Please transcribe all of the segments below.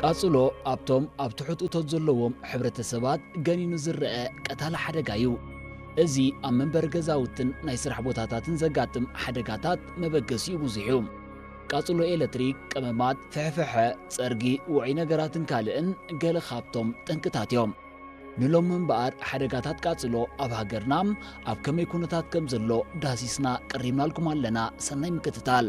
ቃጽሎ ኣብቶም ኣብ ትሑት እቶት ዘለዎም ሕብረተሰባት ገኒኑ ዝረአ ቀታሊ ሓደጋ እዩ። እዚ ኣብ መንበሪ ገዛውትን ናይ ስራሕ ቦታታትን ዘጋጥም ሓደጋታት መበገሲኡ ብዙሕ እዩ። ቃጽሎ ኤለክትሪክ፣ ቀመማት፣ ፍሕፍሐ፣ ጸርጊ፣ ውዑይ ነገራትን ካልእን ገለ ካብቶም ጠንቅታት እዮም። ንሎሚ እምበኣር ሓደጋታት ቃጽሎ ኣብ ሃገርና ኣብ ከመይ ኩነታት ከም ዘሎ ዳህሲስና ቀሪብናልኩም ኣለና። ሰናይ ምክትታል።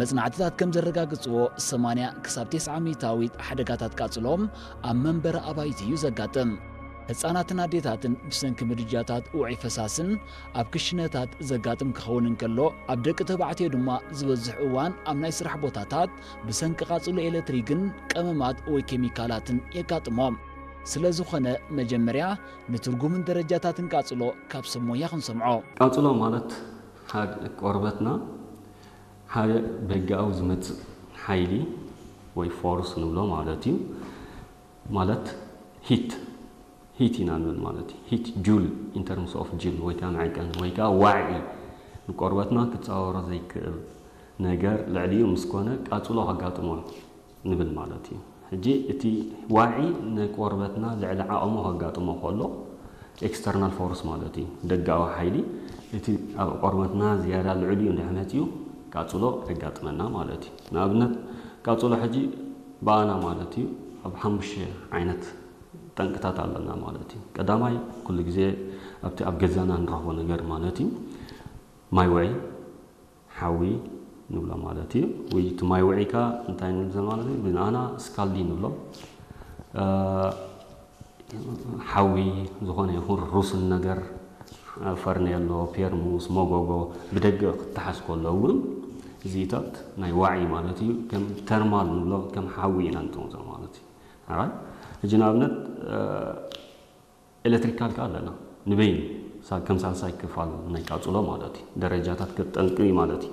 መጽናዕትታት ከም ዘረጋግጽዎ፣ ሰማንያ ክሳብ ተስዓ ሚእታዊት ሓደጋታት ቃጽሎ ኣብ መንበሪ ኣባይቲ እዩ ዘጋጥም። ህጻናትን ኣዴታትን ብሰንኪ ምድጃታት ውዑይ ፈሳስን ኣብ ክሽነታት ዘጋጥም ክኸውን እንከሎ፣ ኣብ ደቂ ተባዕትዮ ድማ ዝበዝሕ እዋን ኣብ ናይ ስራሕ ቦታታት ብሰንኪ ቃጽሎ ኤለክትሪክን ቀመማት ወይ ኬሚካላትን የጋጥሞም። ስለ ዝኾነ፣ መጀመርያ ንትርጉምን ደረጃታትን ቃጽሎ ካብ ሰብ ሞያ ክንሰምዖ። ቃጽሎ ማለት ሓደ ቆርበትና ሓደ በጋዊ ዝመጽእ ሓይሊ ወይ ፎርስ ንብሎ ማለት እዩ። ማለት ሂት፣ ሂት ኢና ንብል ማለት እዩ። ሂት ጁል፣ in terms of ጁል ወይ ከዓ መዐቀኒ ወይ ከዓ ዋዒ፣ ንቆርበትና ክጻወሮ ዘይክእል ነገር ልዕሊኡ ምስ ኮነ ቃጽሎ ከጋጥሞ ንብል ማለት እዩ። ሕጂ እቲ ዋዒ ንቆርበትና ልዕሊ ዓቕሙ ከጋጥሞ ከሎ፣ ኤክስተርናል ፎርስ ማለት እዩ፣ ደጋዊ ሓይሊ፣ እቲ ኣብ ቆርበትና ዝያዳ ልዕሊኡ እንድሕር መፂኡ ቃፅሎ የጋጥመና ማለት እዩ። ንኣብነት ቃፅሎ ሕጂ ብኣና ማለት እዩ ኣብ ሓሙሽተ ዓይነት ጠንቅታት ኣለና ማለት እዩ። ቀዳማይ ኩሉ ግዜ ኣብቲ ኣብ ገዛና ንረኽቦ ነገር ማለት እዩ ማይ ውዒ፣ ሓዊ ንብሎ ማለት እዩ። ወይ እቲ ማይ ውዒ ከኣ እንታይ ንብል ማለት እዩ? ብንኣና ስካልዲ ንብሎ። እ፣ ሓዊ ዝኾነ ይኹን ሩስን ነገር፣ ፈርኔሎ፣ ፔርሙስ፣ መጎጎ ብደገ ክተሓዝ ከሎ እውን እዚታት ናይ ዋዒ ማለት እዩ። ከም ተርማል ንብሎ፣ ከም ሓዊ ኢና ንጠምዞ ማለት እዩ። ኣራይ፣ ሕጂ ንኣብነት፣ እ፣ ኤሌክትሪካል ከኣ ኣለና። ንበይኑ ሳ-፣ ከም ሳልሳይ ክፋል ናይ ቃጽሎ ማለት እዩ። ደረጃታት ከጠንቂ ማለት እዩ።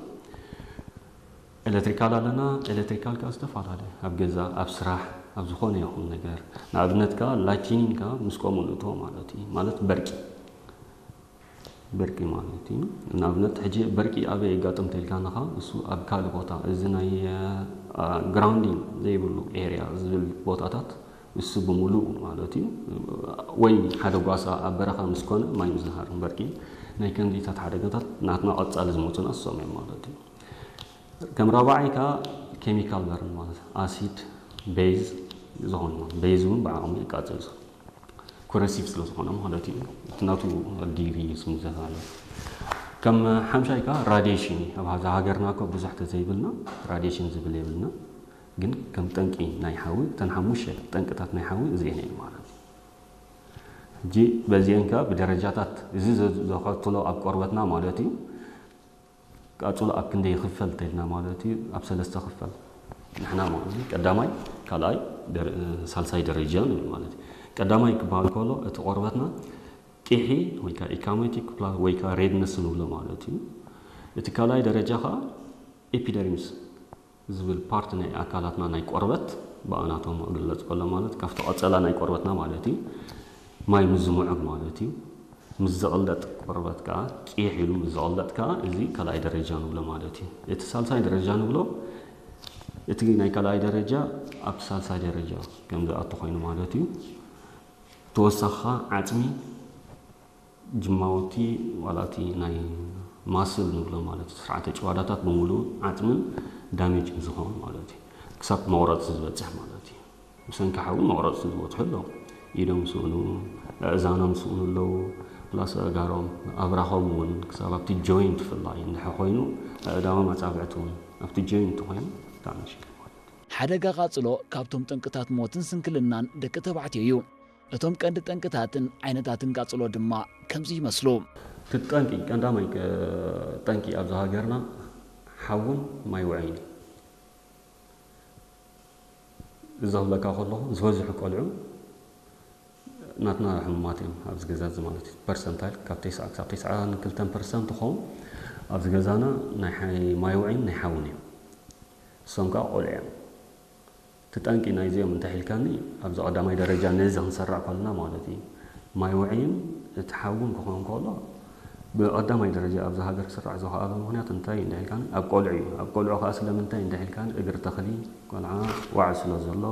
ኤሌክትሪካል ኣለና። ኤሌክትሪካል ከኣ ዝተፈላለየ፣ ኣብ ገዛ፣ ኣብ ስራሕ፣ ኣብ ዝኾነ ይኹን ነገር። ንኣብነት ከኣ ላይትኒንግ ከኣ ምስ ከምኡ ንእትዎ ማለት እዩ። ማለት በርቂ። በርቂ ማለት እዩ። ንኣብነት ሕጂ በርቂ ኣበይ የጋጥም ተልካና ከኣ እሱ ኣብ ካልእ ቦታ፣ እዚ ናይ፣ አ፣ ግራውንዲንግ ዘይብሉ ኤርያ ዝብል ቦታታት እሱ ብምሉኡ ማለት እዩ። ወይ ሓደ ጓሳ ኣብ በረኻ ምስ ኮነ ማይ ምዝሃር እምበርቂ ናይ ከምዚታት ሓደጋታት ናትና ቀጻሊ ዝሞቱና እሶም እዮም ማለት እዩ። ከም ራብዓይ ከኣ ኬሚካል በርን ማለት ኣሲድ፣ ቤዝ ዝኾኑ፣ ቤዝ እውን ብዓቕሙ ይቃጸል። ኮረሲቭ ስለ ዝኾነ ማለት እዩ። እቲ ናቱ ዲግሪ እዩ ስሙ ዘተባለ። ከም ሓምሻይ ከኣ ራዲሽን እዩ። ኣብ ሃዛ ሃገርና እኮ ብዙሕ ተዘይብልና ራዲሽን ዝብል የብልና። ግን ከም ጠንቂ ናይ ሓዊ፣ እተን ሓሙሽተ ጠንቅታት ናይ ሓዊ እዚአን እየን ማለት እዩ። ሕጂ በዚአን ከኣ ብደረጃታት እዚ ዘ-፣ ዘኸትሎ ኣብ ቆርበትና ማለት እዩ። ቃጽሎ ኣብ ክንደይ ይኽፈል ተልና ማለት እዩ፣ ኣብ ሰለስተ ክፈል። ንሕና ማለት እዩ ቀዳማይ፣ ካልኣይ፣ ደረ-፣ ሳልሳይ ደረጃ ንብል ማለት እዩ። ቀዳማይ ክበሃል ከሎ እቲ ቆርበትና ቂሒ ወይ ከኣ ኢካሞቲክ ፕላ-፣ ወይ ከኣ ሬድነስ ንብሎ ማለት እዩ። እቲ ካልኣይ ደረጃ ከኣ ኤፒደርሚስ ዝብል ፓርት ናይ ኣካላትና ናይ ቆርበት ብኣናቶሚ ክግለጽ ከሎ ማለት ካብቲ ቀጸላ ናይ ቆርበትና ማለት እዩ። ማይ ምስ ዝምዑግ ማለት እዩ። ምስ ዝቕለጥ ቆርበት ከኣ ቂሕ ኢሉ ምስ ዝቕለጥ ከኣ እዚ ካልኣይ ደረጃ ንብሎ ማለት እዩ። እቲ ሳልሳይ ደረጃ ንብሎ እቲ ናይ ካልኣይ ደረጃ ኣብ ሳልሳይ ደረጃ ከም ዝኣቱ ኮይኑ ማለት እዩ። ተወሳኺ ከኣ ዓጽሚ ጅማውቲ ዋላ እቲ ናይ ማስል ንብሎ ማለት እዩ፣ ስርዓተ ጭዋዳታት ብምሉኡ ዓጽምን ዳሜጅን ዝኸውን ማለት እዩ። ክሳብ መቑረፂ ዝበፅሕ ማለት እዩ። ብሰንኪ ሓዊ መቑረፂ ዝበፅሑ ኣለዉ። ኢዶም ስእኑ፣ ኣእዛኖም ስእኑ ኣለዉ። ፕላስ ኣእጋሮም፣ ኣብራኾም እውን ክሳብ ኣብቲ ጆይንት ብፍላይ እንድሕር ኮይኑ፣ ኣእዳዎም ኣፃብዕቲ እውን ኣብቲ ጆይንት ኮይኑ ብጣዕሚ ሽግር ማለት እዩ። ሓደጋ ቃጽሎ ካብቶም ጠንቅታት ሞትን ስንክልናን ደቂ ተባዕትዮ እዩ። እቶም ቀንዲ ጠንቅታትን ዓይነታትን ቃጽሎ ድማ ከምዚ ይመስሉ። እቲ ጠንቂ፣ ቀንዳማይ ቀ-፣ ጠንቂ ኣብዚ ሃገርና ሓውን ማይ ውዕይን እዩ። እዚ ክብለካ ከለኹ ዝበዝሑ ቆልዑ ናትና ሕሙማት እዮም ኣብዚ ገዛ እዚ ማለት እዩ። ፐርሰንታይል ካብ ተስዓ ክሳብ ተስዓን ክልተን ፐርሰንት ክኸውን ኣብዚ ገዛና ናይ ሓይ-፣ ማይ ውዕይን ናይ ሓውን እዮም። እሶም ከዓ ቆልዑ እዮም። እቲ ጠንቂ ናይዚኦም እንተ ሒልካኒ፣ ኣብዚ ቀዳማይ ደረጃ ነዚ ክንሰርዕ ከለና ማለት እዩ፣ ማይ ውዕይን እቲ ሓውን ክኾን ከሎ፣ ብቐዳማይ ደረጃ ኣብዚ ሃገር ክስራዕ ዝኸኣሎ ምኽንያት እንታይ እንድሕልካን ኣብ ቆልዑ እዩ። ኣብ ቆልዑ ከዓ ስለምንታይ እንድሕልካን እግሪ ተኽሊ ቆልዓ ዋዕ ስለ ዘሎ